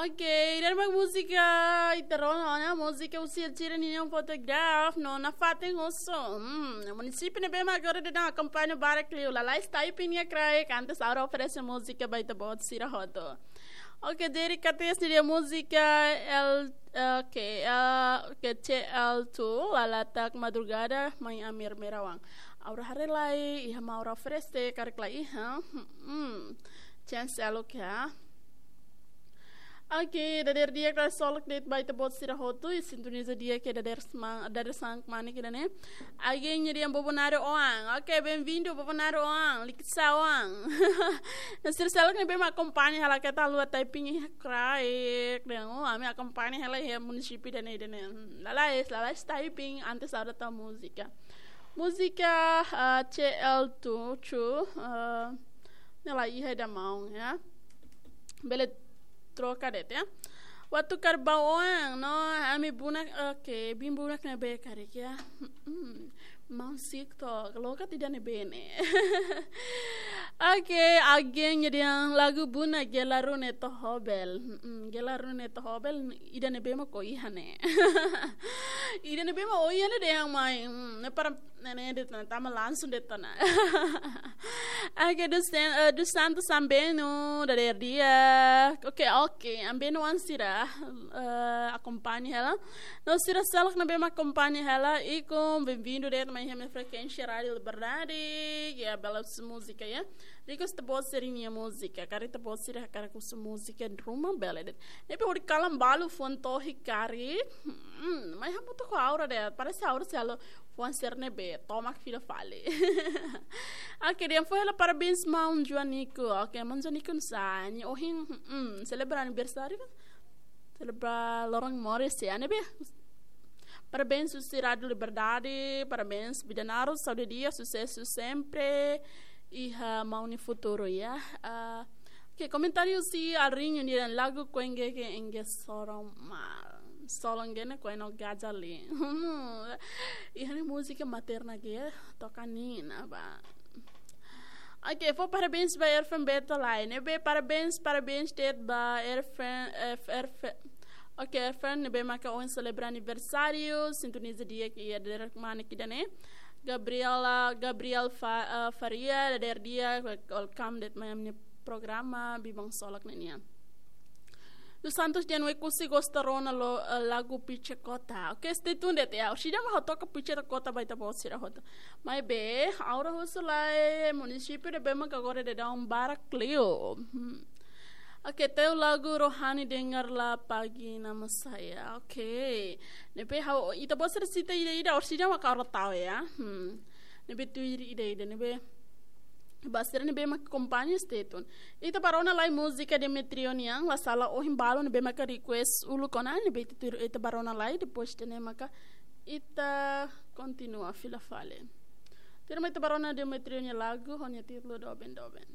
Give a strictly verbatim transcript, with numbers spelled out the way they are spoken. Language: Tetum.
Oke, ida-ne'e mak múzika ita rona ona, múzika husi Alzira nian, Photograph, no nafatin husu. Hmm, munisípiu ne'ebé mak agora daudaun akompaña barak liu, lalais typing nia kraik, antes ha'u oferese múzika ba ita-boot sira hotu. Oke, Jerry Cates nia múzika L, oke, eh, oke, C L two, Lalatak Madrugada, Mai Amir Merawan. Ha'u haree lai iha mak ha'u oferese, karik la iha. Hmm, chance elo ka. Oke, dadeer di'ak, ksolok de'it ba ita-boot sira hotu, i sintoniza di'ak iha dadeer sma-, dadeer-saan kmanek ida-ne'e. Oke, nia dehan Bobonaro oan. Oke, bem-vindo, Bobonaro oan. Liksa oan. No sira seluk ne'ebé mak akompaña hela, keta haluha typing iha kraik. Dehan, oh, ami akompaña hela iha munisípiu ida-ne'e, ida-ne'e. Hmm, lalais, lalais typing, antes ha'u tau múzika. Múzika, ah, C L two, two, ah, ne'e la iha ida maun, ya. Bele troka de'it, ya. Waktu karbau oan, no, ami bunak, oke, bin bunak ne'ebé karik, ya. Hmm, maun sik to, loke ida-ne'ebé ne'e. Oke, oke, nia dehan lagu bunak Gela Rune Tohobel. Hmm, Gela Rune Tohobel, ida-ne'ebé mak ó iha ne'e. Ida-ne'ebé mak ó iha ne'e dehan mai. Hmm, ne'e para ne'e, ne'e de'it ona, tama langsung de'it ona. Oke, dos San-, eh, dos Santos Ambeno, dadeer di'ak. Oke, oke, Ambeno oan sira, eh, akompaña hela. No sira seluk ne'ebé mak akompaña hela, ikus bem-vindo de'it mai iha imi-nia frekuénsia Rádio Liberdade, ya, bela husu múzika, ya. Request ita-boot sira-nia múzika, karik ita-boot sira hakarak husu múzika ruma, bele de'it. Ne'ebé hodi kalan balu fuan tohi karik. Hmm, mai hamutuk ho aura de'it. Parese aura sei halo fuan sira ne'ebé tomak fila fali. Oke, dehan fó hela parabéns maun Joanico. Oke, maun Joanico nusá, nia ohin, hmm, selebra aniversáriu ka? Selebra loron moris, ya, ne'ebé. Parabéns husi Rádio Liberdade, parabéns Bidanaro, saúde di'ak, susesu sempre, iha maun nia futuru, ya. Ah, oke, komentáriu husi Alrinho nia dehan lagu Kuengue ke Engue Sorong Mal. Solong gene kueno gajali. Iha ne'e múzika materna ke toka nina ba. Oke, fó parabéns ba Erfen Beto lai. Ne'ebé parabéns, parabéns de'it ba Erfen, F-, Erfen. Oke, Erfen, ne'ebé maka ohin selebra aniversáriu, sintoniza di'ak iha dadeer kmanek ida-ne'e. Gabriela, Gabriel Fa-, eh, Faria, dadeer di'ak, welcome de'it mai ami-nia programa, Biban Solok ne'e nian. Dos Santos dehan Oekusi gosta rona lo, eh, lagu Piche Kota. Oke, stay tuned de'it ya. Orsida mak ha'u toka Piche Kota ba ita-boot sira hotu. Maibé, ha'u husu lai, munisípiu ne'ebé maka agora daudaun barak liu. Hmm. Oke, teu lagu Rohani Dengarlah Pagi Nama Saya. Oke. Ne'ebé ha'u, ita-boot sira sita ida-ida, orsida mak ha'u tau ya. Hmm. Ne'ebé tuir ida-ida, ne'ebé ba sira ne'ebé mak akompaña stay tuned. Ita bá rona lai múzika Demetrio nian, la sala ohin balun ne'ebé maka request uluk ona, ne'ebé ita tuir, ita bá rona lai, depois ida-ne'e maka ita kontinua fila fali. Tuirmai ita bá rona Demetrio nia lagu, ho nia títulu Doben Doben.